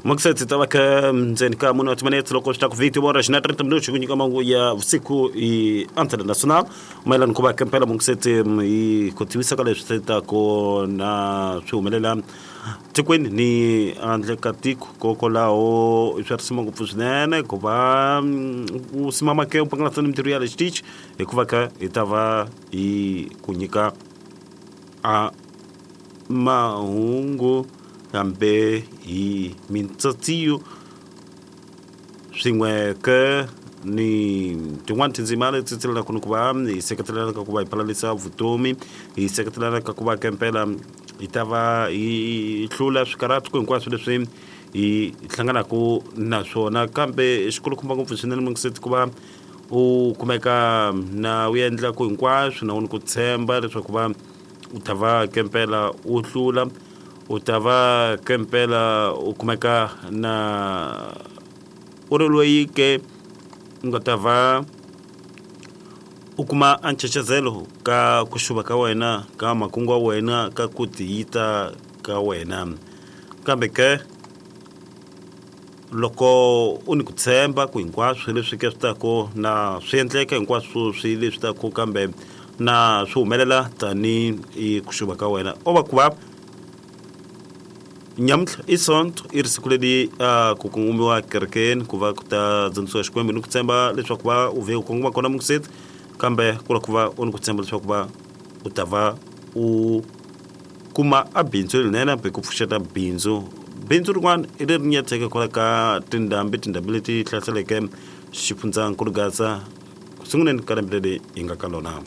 Mukuseti ta va ka ndzeni ka mune wa timinetse loko swi ta ku viti vora xina 30 minutos ku nyika mahungu ya vusiku hi Antena Nacional mayelana ku va ka mpela mukuseti hi ku tivisa ka leswi swi taku na swi humelela tikweni ni handle ka tiko kokwalaho i swa risima ngopfu swinene ku va u simama ke u pangalasa ni mintirho ya le xitichi hikuva ka hi ta va hi ku nyika a mahungu kambe hi mintsatsiyo swin'we ke ni tin'wani tindzima leti tsilelaka ni ku va hi seketelana ka ku va hi palalisa vutomi hi seketelana ka ku va kempela hi ta va hi hlula swikarhatu hinkwaswo leswi hi hlanganaka na swona kambe xikulukumba ngopfu swinene mungiseti ku va u kumeka na u endla ku hinkwaswo na u ni ku tshemba leswaku va u ta va kempela u hlula u ta va kempela u kumeka na u ri loyi ke u nga ta va u kuma a nchechezelo ka ku xuva ka wena ka makungu wa wena ka ku tiyita ka wena kambe ke loko u ni ku tshemba ku hinkwaswo leswi ke swi taku na swi endleka hinkwaswo swi leswi taku kambe na swi humelela tani hi ku xuva ka wena o va ku va nyamuntlha i sonto i ri siku leri a ku kongomiwa kerekeni ku va ku ta dzunisiwa xikwembu ni ku tshemba leswaku va u vhe u kongoma kona mungiseti kambe ku la ku va u ni ku tshemba leswaku va u ta va u kuma a bindzu lerinene hambi ku pfuxeta bindzu bindzu rin'wana i leri nyatseke kwala ka tindhambi tindhambi leti hlaseleke xifundzankulu gaza ku sunguleni ka lembe leri hi nga ka lona.